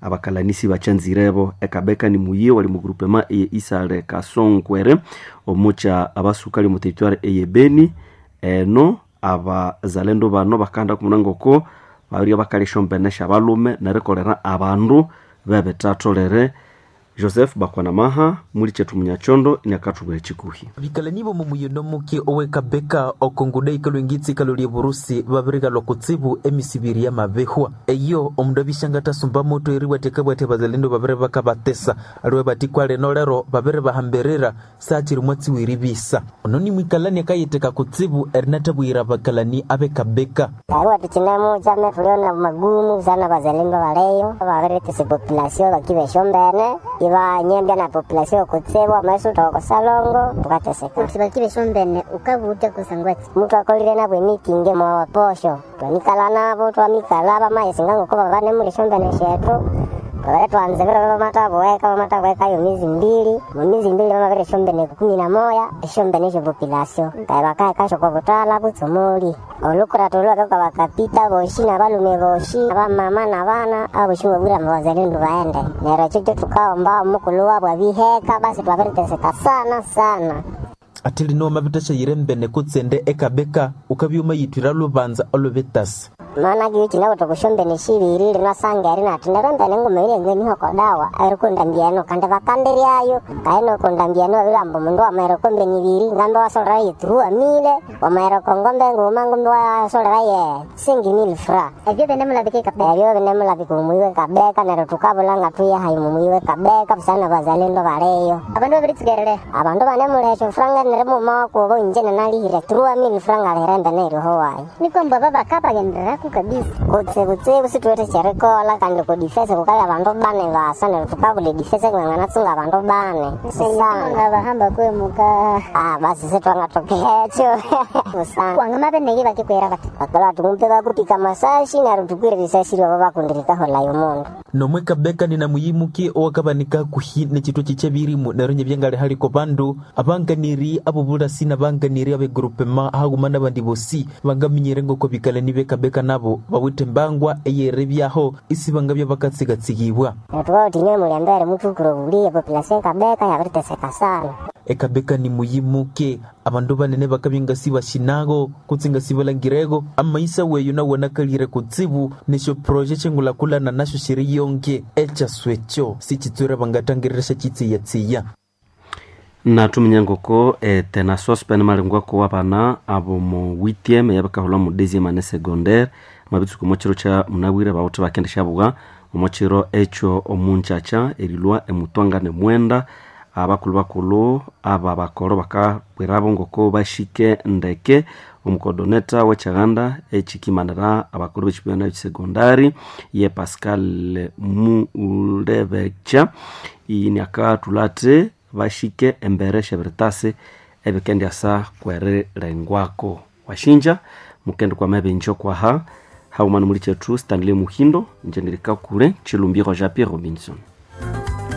Abakalanisi bachanzirebo ekabeka ni muyi wali mu groupement eye Isale Kasongwere omucha abasukali mu territoire eye Beni. Eno abazalendo bano bakanda kumunangoko babirya bakalisha ombene syabalume nerikolera abandu bebitatholere. Joseph Bakwanamaha muli chetu munyachondo inakathubwira chikuhi. Bikalani bomu muyino muki owekabeka okonguda ikalo ingitsi ikalo lye burusi babirigalwa kutsibu emisibiri ya mabehwa eyo omundu abishanga tasumba moto eriwatekabwate bazalendo babiri bakabatesa aliwe batikwa leno lero babiri bahambirira saachiri mwatsiwiri bisa ono ni mwikalani akayeteka kutsibu erinatabwira bakalani abekabeka. Barua tuchinamo chama tuliona magumu sana bazalendo baleyo babiritese population bakibeshombene ibanyembya na population kutsebwa amaiso tokosalongo tukateseka. Kuti bakibeshombene ukabuta kusangwati Mtu akolire nabwe meeting mwa posho twamikala nabo twamikala bamayesinga ngoko babane muri shombene shetu twabere twanze biro bamatabuweka yo mizi mbili mu mizi mbili bamabere shombene 11 eshombene esho population kae bakae kasho kwa butala butsomoli olukura tulwake kwa bakapita boshi na balume boshi abamama na bana aboshi babwira mubazalendo baende nero ekyo tukaomba omukulu wabwe abiheka basi twabiriteseka sana sana. Ate lino mabitashayire mbene kutsende ekabeka ukabyuma yitwira lubanza olubitasi. Maana kiuchi nabo tukushombene shibiri linasanga eri nati nerembene nguma ile ngenihoko dawa erikundambiano kandi bakandiryayo kaino kundambiano bilambo mundu amaereko mbene ibiri ngambe wasolera ye 3000 wamaereko ngombe nguma ngumbe wasolera ye 5000 fra. Ebyo binemulabika kabeka. Ebyo binemulabika mumuiwe kabeka neryo tukabulanga tuya hayi mumuiwe kabeka busana bazalendo baleyo. Abandu babiritsigerere. Abandu banemulesho franga nerimuma wakubo inje nanalihire 3000 franga alihirembe neriho wayi. Nikomba baba kabagenderera kabisa. Kutse situwete cherikola kandi kudifese kukali abandu bane basa neryo tukabula edifese ng'anatsunga abandu bane sana. Ngabahamba kwemuka. Ah, basi sitwangatokekyo sana. Kwanga mabeneki bakikwera bati. Bakola tumpe bakupika masashi neryo tukwire risasi lwabo bakundirikahola yomundu. Nomwe kabeka nina muyimuki owakabanika kuhi nechitwa chichebirimu nero nyebyangali haliko bandu abanganiri abobulasi nabanganiri abegrupema haguma nabandi bosi bangaminyire ngoko bikalani bekabeka nabo bawithe mbangwa eyerebyaho isi bangabya bakatsigatsigibwa. Tukautinywe muliambere mutukuro buliye population kabeka yabiriteseka sana. Ekabeka ni muyimuke abandu banene bakabya ngasi bashinago kutsi ngasi balangirego amaisa weyo nawanakalire kutsibu nesho proje chengulakulana nasho shiri yonke echaswekyo sichitswere bangatangirirasha chitsiyatsiya. Natuminya ngoko tena sospen malengwako wabana abo mu 8e yabakahulwa mu 2e année secondaire mabitsuku mochiro cha munabwire bawuthe bakendesha buga omochiro ekyo omunchacha erilwa emutwanga nemwenda abakulu bakulu aba bakolo bakabwirabo ngoko bashike ndeke omukodoneta w'ekyaganda ekikimanira abakulu b'ekibiina ekisegondari ye Pascal Mulebecha ini akathulha bashike embere syebiritasi ebikendyasa kwerilengwako washinja mukende kwa mabinjo kwaha haumana muli chetu Stanley Muhindo njendirikakule Chilumbiro Jean Pierre Robinson.